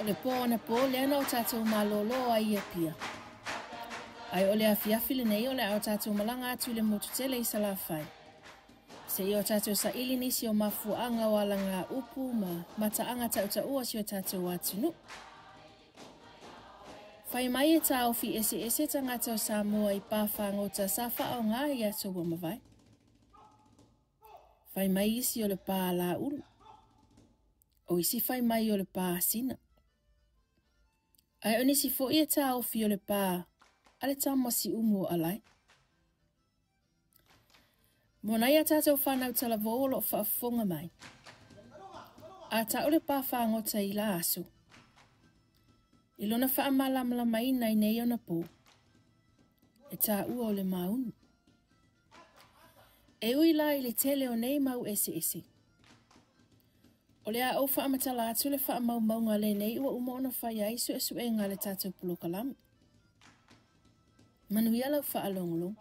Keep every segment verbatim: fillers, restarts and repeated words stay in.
O le pō anapo lea na o tatou malōlō ai i Apia. Ae o le afiafi lenei o le a o tatou malaga atu i le motu tele i Salafai. Seia o tatou saili nisi o mafuaaga o alagaupu ma mataaga tautaua o si o tatou atunuu. Fai mai e taofi eseese tagata o Samoa i pā fagota sa faaaoga i aso ua mavae. Fai mai isi o le pā a Laulu. O isi fai mai o le pā a Sina. Ae o nisi foi e taofi o le pā a le tama siumu o Alae. Mo nai a tatou whanau talavou o loo faafofoga mai. A tau le pā fagota i la aso. I lona faamalamalamaina i nei ona pō. E taua o le maunu. E ui la i le tele o nei mau eseese. O le a ou faamatala atu le faamaumauga lenei ua uma ona fai ai suesuega a le tatou polokalame. Manuia lau faalogologo.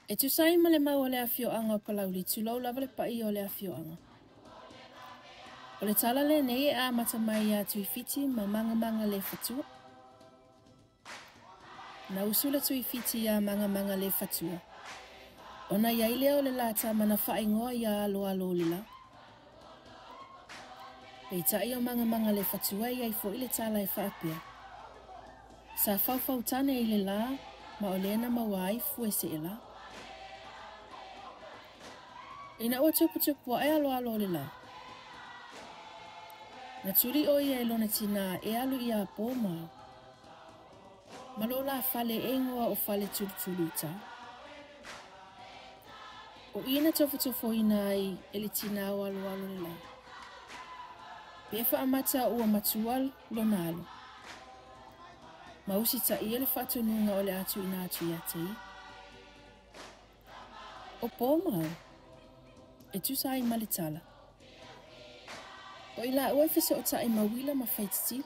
E tusa ai ma le mau o le afioaga o Palauli, tulou lava le paia o le afioaga. O le tala lenei e amata mai ia Tuifiti ma Mangamanga le Fatua. Na usu le Tuifiti ia Mangamanga le Fatua. Ona iai lea o le lata mana faaigoa ia Aloalo o le La. Peitai o Mangamanga le Fatua i ai foi le tala e faapea. Sa faufautane i le la, ma o lea na maua ai fue se e la. Ina ua tuputupu ae Aloalo o le La. Na tuli o ia e lona tina e alu ia pō ma. Ma lo la fale e ingoa o fale tulutuluta. O ia na tofotofoina ai e le tina o Aloalo le La. Pe faamata ua matua lona alo. Ma usitaia le faatonuga o le a tuuina atu ia te ia. O pō ma ao, e tusa ai ma le tala. O i laua e fesootai ma uila ma faititili.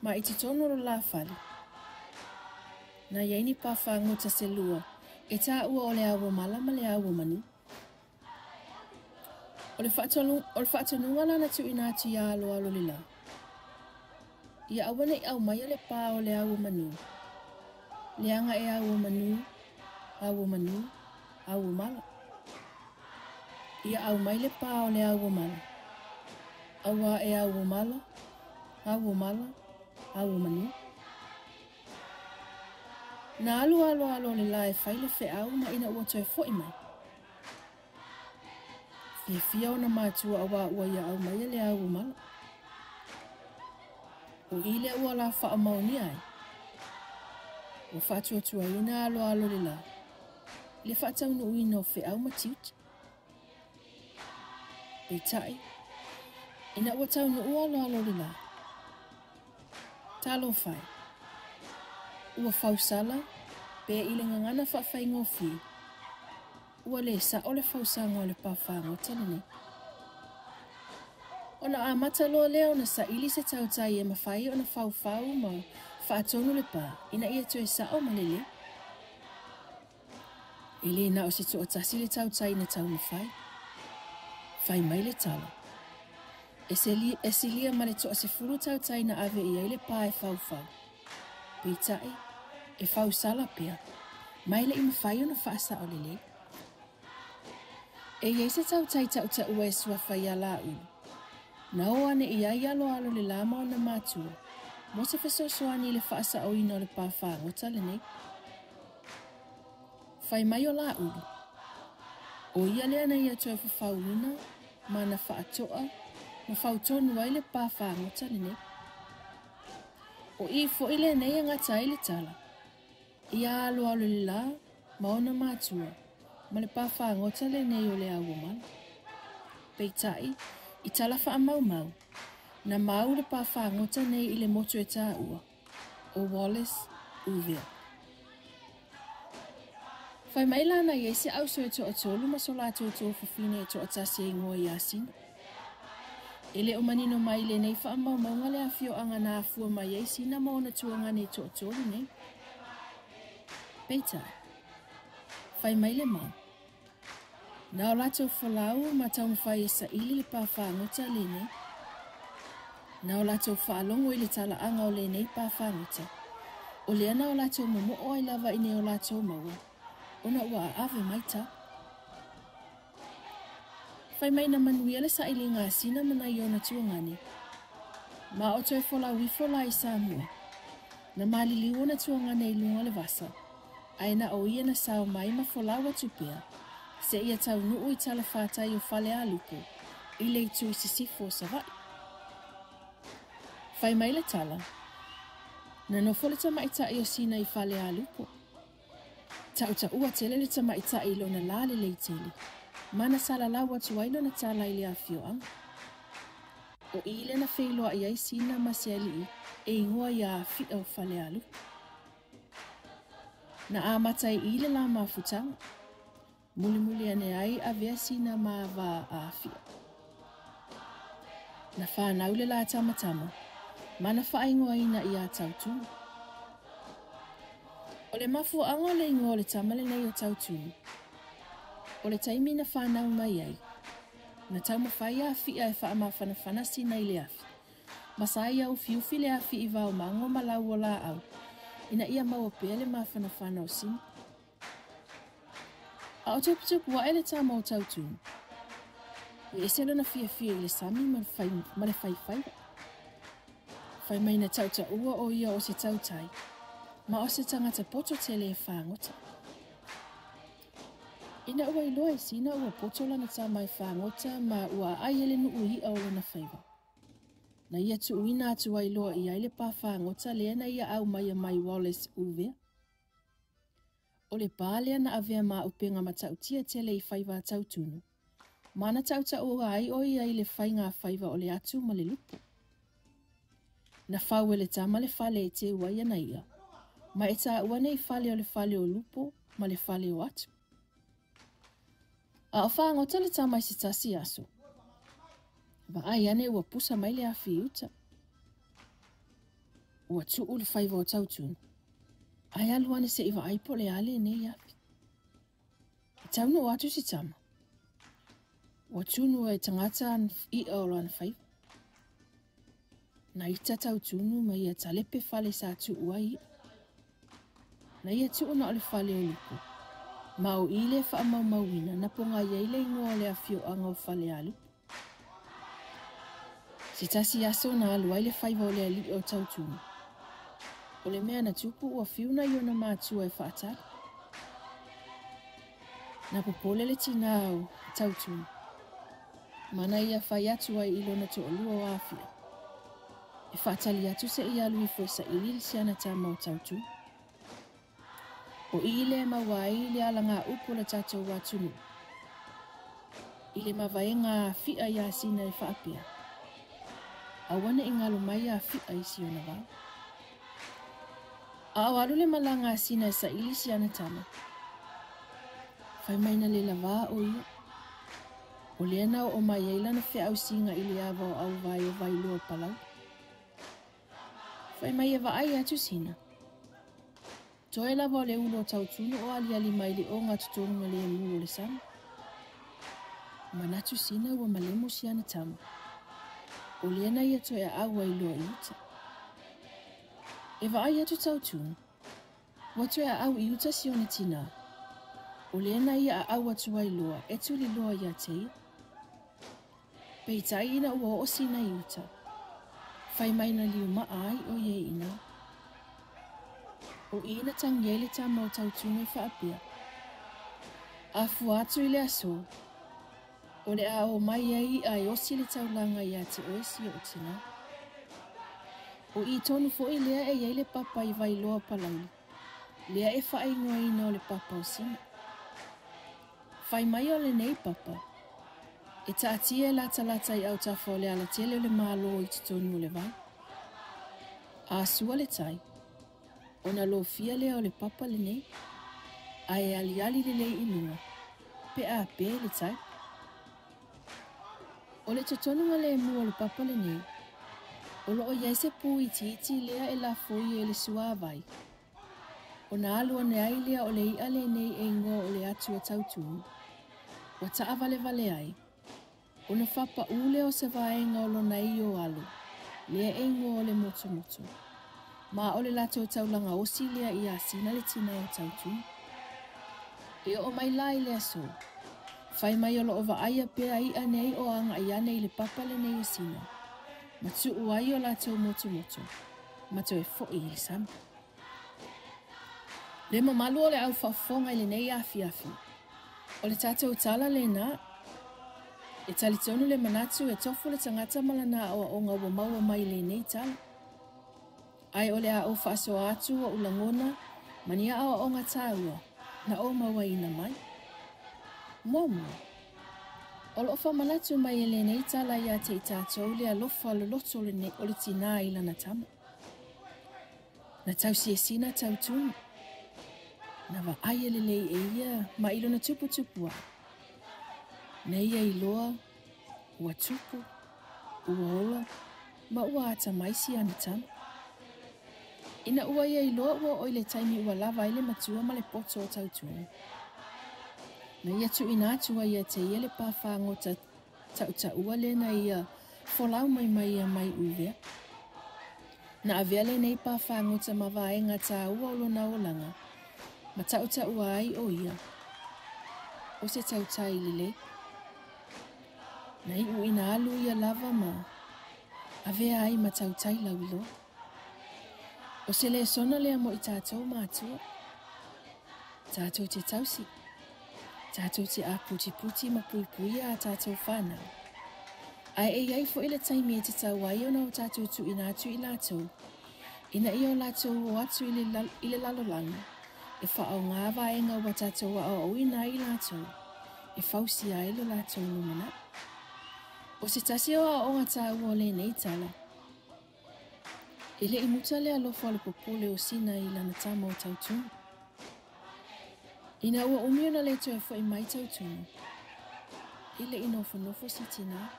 Ma i totonu o lo la fale. Na iai ni pā fagota se lua e taua o le auomala ma le auomanu. O le faatonuga la na tuuina atu ia Aloalo le La. Ia aua nei aumaia le pā o le auomanu. Leaga e auomanu, auomanu, auomala. Ia aumai le pā o le auomala. Auā e auomala, auomala, auomanu. Na alu Aloalo o le La e fai le feau ma ina ua toe foi mai. Fiafia ona matua auā ua ia aumaia le auomala. O i lea ua la faamaonia ai. Ua faatuatuaina Aloalo le La. I le faataunuuina o feau ma tiute. Peitai, ina ua taunuu Aloalo le La. Talofa e. Ua fausala, pe i le gagana faafaigofie. Ua le sao le fausaga o le pā fagota lenei. Ona amata loa lea ona saili se tautai e mafai ona faufau ma faatonu le pā ina ia toe sao ma lelei. E le na o se toatasi le tautai na taumafai. Fai mai le tala. E silia ma le toasefulu tautai na ave i ai le pā e faufau. Peitai, e fausala pea, mai le i mafai ona faasao lelei. E iai se tautai tautaua e suafa ia Laulu. Na o ane i ai Aloalo le La ma ona matua, mo se fesoasoani i le faasaoina o le pā fagota lenei. Fai mai o Laulu. O ia lea na ia toe fafauina ma na faatoa ma fautonu ai le pā fagota lenei. O i foi lenei e gata ai le tala. Ia Aloalo le La ma ona matua ma le pā fagota lenei o le auomala. Peitai, i tala faamaumau, na mau le pā fagota nei i le motu e taua, o Wallace Uvea. Fai mai la na iai se auso e toatolu ma so latou tofafine e toatasi e ingoa ia Sina. E le o manino mai lenei faamaumauga le afioaga na afua mai ai Sina ma ona tuagane e toatolu nei. Peitai, fai mai le mau. Na o latou folau ma taumafai e saili le pāfagota lenei. Na o latou faalogo i le talaaga o lenei pāfagota. O lea na o latou momoo ai lava i nea o latou maua, ona ua aave mai tala. Fai mai na manuia le sailiga a Sina ma nai ona tuagane. Ma o toe folau ifo la i Samoa. Na maliliu ona tuagane i luga o le vasa, ae na o ia na sao mai ma folau atu pea, seia taunuu i talafatai o Falealupo, i le itu i sisifo o Savaii. Fai mai le tala, na nofo le tamaitai o Sina i Falealupo. Tautaua tele le tamaitai i lona lalelei tele, ma na salalau atu ai lona tala i le afioaga. O i lea na feiloai ai Sina ma se alii e igoa ia Afi'a o Falealupo. Na amata ai i le la mafutaga. Mulimuli ane ai avea Sina ma va a Afi'a. Na whanau le la tamatama, ma na whaingoaina ia Tautunu. O le mafuaaga o le igoa o le tama lenei o Tautunu. O le taimi na whanau mai ai, na taumafai a Afi'a e faamafanafana Sina i le afi. Ma sa ia ufiufi le afi i vaomago ma lau o laau, ina ia maua pea le mafanafana o Sina. A o tuputupu ae le tama o Tautunu. E ese lona fiafia i le sami ma le fai, ma le faifaiva. Fai mai na tautaua o ia o se tautai, ma o se tagata poto tele e fagota. Ina ua iloa e Sina ua poto lana tama e fagota ma ua aai e le nuu i'a o lona faiva. Na ia tuuina atu ai loa i ai le pāfagota lea na ia aumaia mai Wallace Uvea. O le pā lea na avea ma upenga matautia tele i faiva a Tautunu. Ma na tautaua ai o ia i le faiga a faiva o le atu ma le lupo. Na fau e le tama le fale e teu ai ana ia, ma e taua nei fale o le fale o lupo ma le fale o atu. A o fagota le tama i se tasi aso. Vaai ane ua pusa mai le afi i uta. Ua tuu le faiva o Tautunu. Ae alu ane se'i vaai po o le a lenei afi. E taunuu atu si tama. Ua tunu e tagata i'a o lana faiva. Na ita Tautunu ma ia talepe fale sa tuu ai i'a. Na ia tuu na o le fale o lupo. Ma o i le faamaumauina na pogai ai le igoa o le afioaga o Falealupo. Se tasi aso na alu ai le faiva o le alii o Tautunu. O le mea na tupu ua fiu nai ona matua e faatali. Na popole le tinā o Tautunu. Ma na ia fai atu ai i lona to'alua o Afi'a. E faatali atu se'i alu ifo e saili si ana tama o Tautunu. O i le maua ai le alagaupu o le tatou atunuu. I le mavaega a Afi'a ia Sina e faapea. Aua ne'i galo mai Afi'a i si ona vao. A o alu le malaga a Sina e saili si ana tama. Fai mai na le lavā o ia. O lea na oo mai ai lana feausiga i le ava o auvai o Vailoa Palauli. Fai mai e vaai atu Sina. Toe lava o le ulu o Tautunu o aliali mai le ogatotonu le emu o le sami. Manatu Sina ua malemo si ana tama. O lea na ia toe aau ai loa i uta. E vaai atu Tautunu. Ua toe aau i uta si ona tinā. O lea na ia aau atu ai loa e tuli loa ia te ia. Peitai ina ua oo Sina i uta. Fai mai na liumaa ai o ia i ina. O i na tangi ai le tama o Tautunu e faapea. A fua atu i le aso. O le a o mai ai i'a e osi le taulaga ia te oe si o tinā. O i tonu fo'i lea e iai le papa i Vailoa Palauli. Lea e faaigoaina o le papa o Sina. Fai mai o lenei papa. E taatia e latalata i autafa o le alatele o le malo i totonu o le vai. A sua le tai. Ona lofia lea o le papa lenei. Ae aliali lelei i luga. Pe a pe le tai. O le totonuga lemu o le papa lenei. O loo iai se pu itiiti lea e lafoi e le suavai. Ona alu ane ai lea o le i'a lenei e igoa o le atu a Tautunu. Ua taʻavalevale ai, ona fapaʻu lea o se vaega o lona io alo, lea e igoa o le motomoto. Ma o le latou taulaga osi lea ia Sina le tinā o Tautumu. E oo mai la i le aso, fai mai o loo vaaia pea iʻa nei o agaʻi ane i le papa lenei o Sina, ma tuu ai o latou motomoto, ma toe foʻi i le sami. Le mamalu o le au faafofoga i lenei afiafi, o le tatou tala lena, e talitonu le manatu e tofu le tagata ma lana aoaoga ua maua mai i lenei tala. Ae o le a ou faasoa atu oʻu lagona ma ni aoaoga taua na ou mauaina mai. Muamua, o loo faamanatu mai e lenei tala ia te i tatou le alofa loloto o le tinā i lana tama. Na tausi e Sina Tautumu. Na vaai e lelei e ia ma i lona tuputupu ai. Na ia iloa, ua tupu, ua ola, ma ua atamai si ana tama. Ina ua ia iloa ua oo i le taimi ua lava ai le matua ma le poto o Tautumu. Na ia tuuina atu ai ia te ia le pāfāgota tautaua lea na ia folau mai mai ia mai uvea. Na avea lenei pāfāgota ma vaega taua o lona olaga, ma tautaua ai o ia, o se tautai lelei. Na iu ina alu ia lava ma avea ai ma tautai lauiloa. O se lesona lea mo i tatou matua. Tatou te tausi, tatou te aputiputi ma puipuia a tatou whanau. Ae e iai foʻi le taimi e te tau ai ona o tatou tuuina atu i latou, ina ia o latou o atu i le, i le lalolagi, e faaoga vaega ua tatou aoaoina ai latou, e fausia ai lo latou lumanai. O se tasi o aoaoga taua o lenei tala, e leʻi muta le alofa o le popole o Sina i lana tama o Tautumu. Ina ua umi ona le toe foʻi mai Tautumu, e leʻi nofonofo si tinā,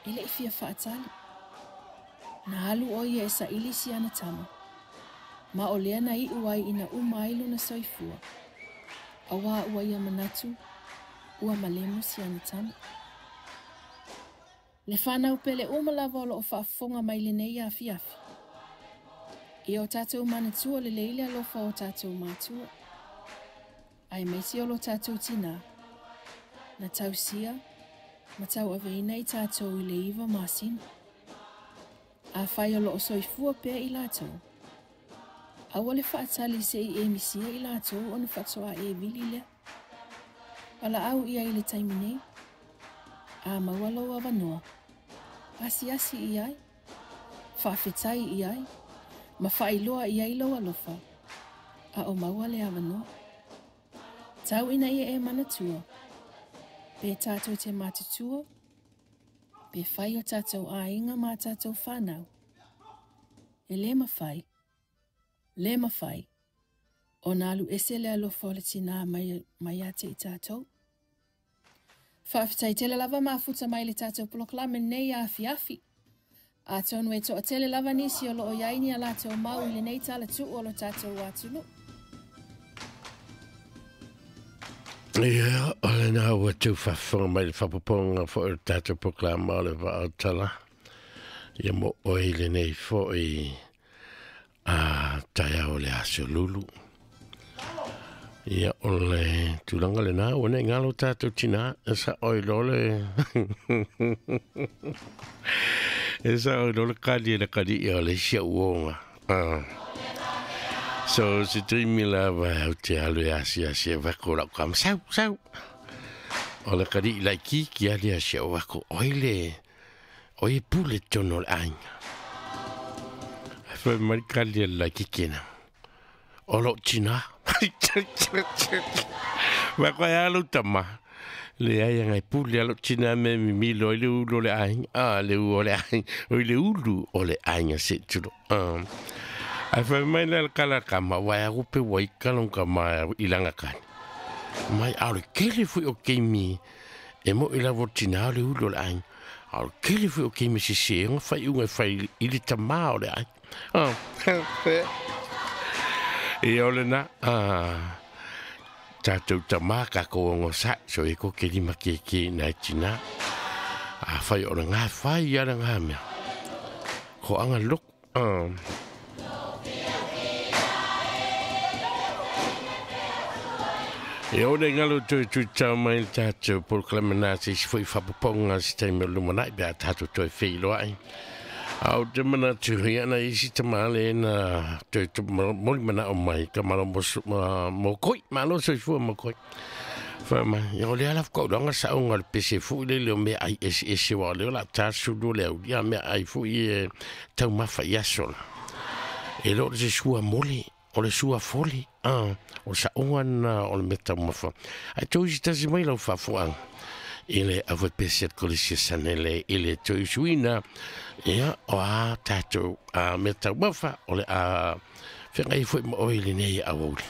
e leʻi fia faatali. Na alu o ia e saʻili si ana tama, ma o lea na iʻu ai ina uma ai lona soifua, auā ua ia manatu, ua malemu si ana tama. Le whanau pele uma lava o loo faafofoga mai lenei afiafi. Ia o tatou manatua lelei le alofa o tatou matua. Aemaise o lo tatou tinā, na tausia, ma tauaveina i tatou i le iva masina. Afai o loo soifua pea i latou, aua le faatali seʻi e misia i latou ona faatoa e vili lea. Valaau ia i le taimi nei, a maua lou avanoa, asiasi i ai, faafetai i ai, ma faailoa i ai lou alofa, a o maua le avanoa. Tau ina ia e manatua, pe tatou te matutua, pe fai o tatou aiga ma tatou whanau. E le mafai, le mafai, ona alu ese le alofa o le tinā mai, mai ia te i tatou. Faafetai tele lava mafuta mai le tatou polokalame nei afiafi. Atonu e toatele lava nisi o loo iai ni a latou mau i lenei talatuu o lo tatou atunuu. Ia, o lena ua tau faafofoga mai le faapopoga foʻi o le tatou polokalama o le Vaautala. Ia mo oe i lenei foʻi a taeao o le aso lulu. Ia o le tulaga lena ua nei galo tatou tinā e saʻo i lo le e saʻo i lo le kali e le kaliʻi o le isi auoga. Ah. So se taimi lava au te alu e asiasi e vako lau kama sau sau. O le kaliʻi laikiki ali asia o vako oi le oi e pule tonu o le aiga. Ai fai mai kali e le laikiki na. O lou tinā. Vako e alu tama. Le ai anga e pule a lou tinā me mimilo i le ulu o le aiga. Ah, le u o le aiga. O i le ulu o le aiga se tulo. Ah. Ai fai mai le kala kama wai a rupe wai kalong kama i langa kani. Mai au le kele fui o keimi e mo i la tina o le ulu o le aiga. Au le kele fui o keimi si se nga fai unga fai i le tamā o le aiga. Ah. E o le na, ah, Tātou tamā kākou o ngosai so e ko ke lima ke ke nai tina. A whai o ngā whai i ara ngā mea. Ko anga loko. Uh. E o le ngalo toi tui tau mai le tātou polokalame nā se isi foi whapaponga se taimi o lumanai pe a tātou toi whiloa ai. Au te mana tuhi ana isi te maale na toi te moli mana o mai ka malo mo koi, malo soifua mo koi. Wha mai, ia o le ala whakauranga sa o ngā pese fui le leo mea ai ese ese wa leo la tāsulu leo ia mea ai fui e tau mawha i asola. E lo se sua moli, o le sua foli, ah, o sa onga na o le mea tau mawha. Ai tau isi tasi mai lau whafuanga. Ile a pese kolisia sanele ile toi suina ia o a tātou a mea tau mawha o le a whengai fui mo oile nei a woli.